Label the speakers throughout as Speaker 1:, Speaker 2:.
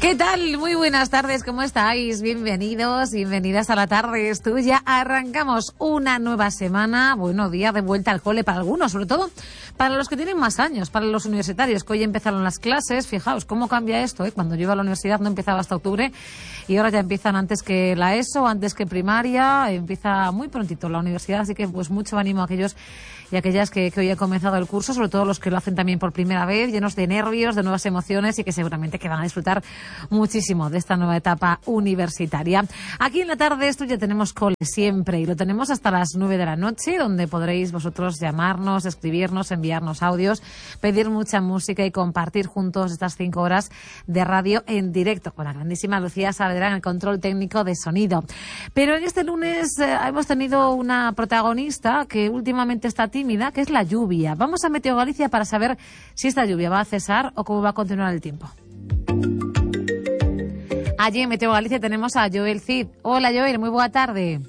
Speaker 1: ¿Qué tal? Muy buenas tardes, ¿cómo estáis? Bienvenidos, bienvenidas a La Tarde es Tuya. Arrancamos una nueva semana, día de vuelta al cole para algunos, sobre todo para los que tienen más años, para los universitarios, que hoy empezaron las clases. Fijaos cómo cambia esto, ¿eh? Cuando yo iba a la universidad no empezaba hasta octubre y ahora ya empiezan antes que la ESO, antes que primaria, empieza muy prontito la universidad, así que pues mucho ánimo a aquellos y aquellas que hoy han comenzado el curso, sobre todo los que lo hacen también por primera vez, llenos de nervios, de nuevas emociones y que seguramente que van a disfrutar muchísimo de esta nueva etapa universitaria. Aquí en La Tarde es Tuya tenemos cole siempre y lo tenemos hasta las 9 de la noche, donde podréis vosotros llamarnos, escribirnos, enviarnos audios, pedir mucha música y compartir juntos estas 5 horas de radio en directo con la grandísima Lucía Saavedra en el control técnico de sonido. Pero en este lunes hemos tenido una protagonista que últimamente está tímida, que es la lluvia. Vamos a Meteo Galicia para saber si esta lluvia va a cesar o cómo va a continuar el tiempo. Allí en Meteo Galicia tenemos a Joel Cid. Hola Joel, moi boa tarde.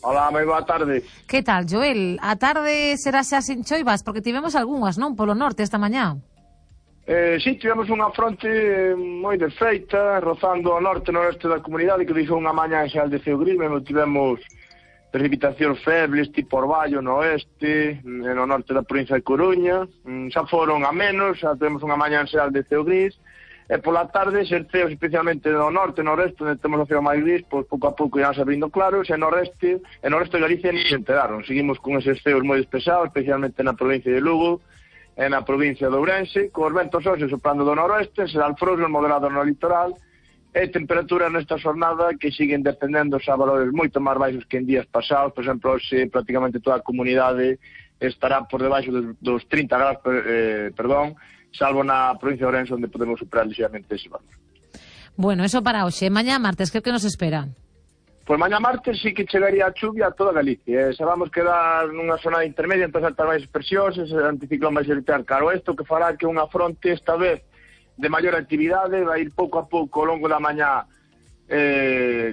Speaker 2: Hola, moi boa tarde.
Speaker 1: Que tal, Joel? A tarde será xa sin choivas, porque tivemos algunhas, non? Polo norte esta mañá.
Speaker 2: Sí, tivemos unha fronte moi desfeita, rozando ao norte e noreste da comunidade, que deixou unha mañá en xeral de ceo gris, mesmo tivemos precipitacións febles, tipo Orballo no oeste, no norte da provincia de Coruña, xa foron a menos, xa temos unha mañá en xeral de ceo gris, e pola tarde, xerceos especialmente no norte e no oeste, onde temos o ceo máis gris, pois pouco a pouco irán se abrindo claros, e no oeste de Galicia ni se enteraron. Seguimos con eses ceos moi despesados, especialmente na provincia de Lugo e na provincia de Ourense, con os ventos hoxe soprando do noroeste, será alfroso moderado no litoral, e temperaturas nesta xornada que siguen descendendo a valores moito máis baixos que en días pasados. Por exemplo, hoxe prácticamente toda a comunidade estará por debaixo dos 30 graus, salvo na provincia de Ourense, onde podemos superar ligeramente ese valor.
Speaker 1: Bueno, eso para hoxe. Mañá martes, que nos espera?
Speaker 2: Pois mañá martes sí que chegaría a chuvia a toda Galicia. Se vamos quedar nunha zona intermedia, entón saltar máis expresións, ese anticiclón vai xeritar caro isto, que fará que unha fronte esta vez de maior actividade vai ir pouco a pouco ao longo da mañá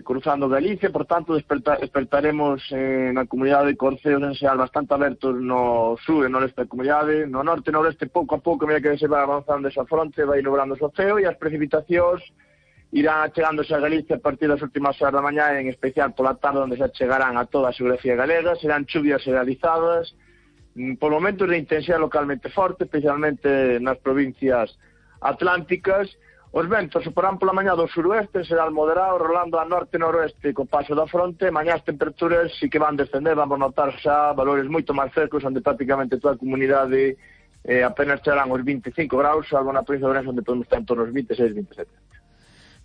Speaker 2: cruzando Galicia. Por tanto, despertaremos na comunidade de Corceos en xeral bastante abertos no sur e no leste da comunidade. No norte e no leste pouco a pouco, a medida que se vai avanzando esa fronte, vai nublando o ceo e as precipitacións irán chegándose a Galicia a partir das últimas horas da mañá, en especial pola tarde, onde se chegarán a toda a xeografía galega. Serán chuvias generalizadas, por momentos de intensidade localmente forte, especialmente nas provincias atlánticas. Os ventos soporán pola mañá do suroeste, será moderado, rolando a norte e noroeste co paso da fronte. Mañá as temperaturas sí que van descender, vamos notar xa valores moito máis frescos, onde prácticamente toda a comunidade apenas chegarán os 25 graus, salvo na provincia de Ourense, onde podemos estar en torno aos 26, 27.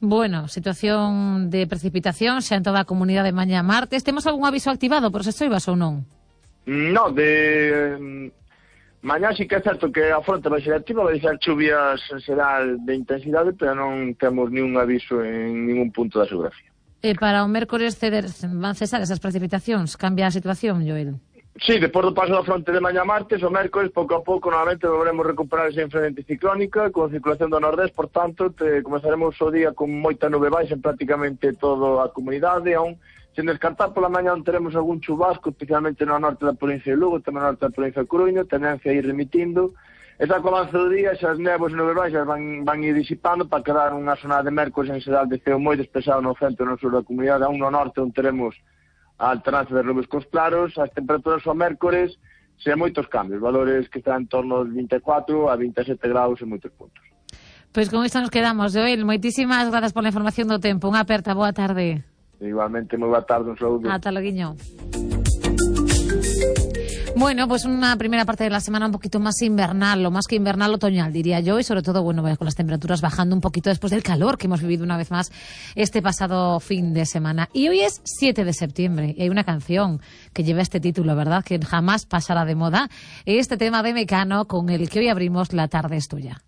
Speaker 1: Bueno, situación de precipitación xa en toda a comunidade mañá martes. Temos algún aviso activado por se choivas ou non?
Speaker 2: Non, mañá sí que é certo que a fronte vai ser activa, vai ser chuvias será de intensidade, pero non temos ningún aviso en ningún punto da xeografía.
Speaker 1: E para o mércores van cesar esas precipitacións? Cambia a situación, Joel?
Speaker 2: Sí, depois do paso da fronte de mañá martes, o mércores, pouco a pouco, novamente, volveremos recuperar esa influencia anticiclónica, con circulación do nordés. Por tanto, comezaremos o día con moita nube baixa en prácticamente toda a comunidade, aún sen descartar pola mañá teremos algún chubasco, especialmente no norte da provincia de Lugo, tamén no norte da provincia de Coruña, tendencia a ir remitindo. Esa co avance do día, esas néboas e nubes baixas van ir disipando para quedar unha zona de mércores en xeral de ceo moi despexado no centro e no sur da comunidade, aún no norte onde teremos a alternancia de nubes cos claros. As temperaturas ao mércores sen moitos cambios, valores que están en torno aos 24 a 27 graus en moitos puntos.
Speaker 1: Pois con isto nos quedamos, Joel. Moitísimas grazas pola información do tempo. Unha aperta, boa tarde.
Speaker 2: Igualmente, moi boa tarde, un saúdo.
Speaker 1: Ata loguiño. Bueno, pues una primera parte de la semana un poquito más invernal, o más que invernal, otoñal, diría yo, y sobre todo, con las temperaturas bajando un poquito después del calor que hemos vivido una vez más este pasado fin de semana. Y hoy es 7 de septiembre, y hay una canción que lleva este título, ¿verdad?, que jamás pasará de moda, este tema de Mecano con el que hoy abrimos La Tarde es Tuya.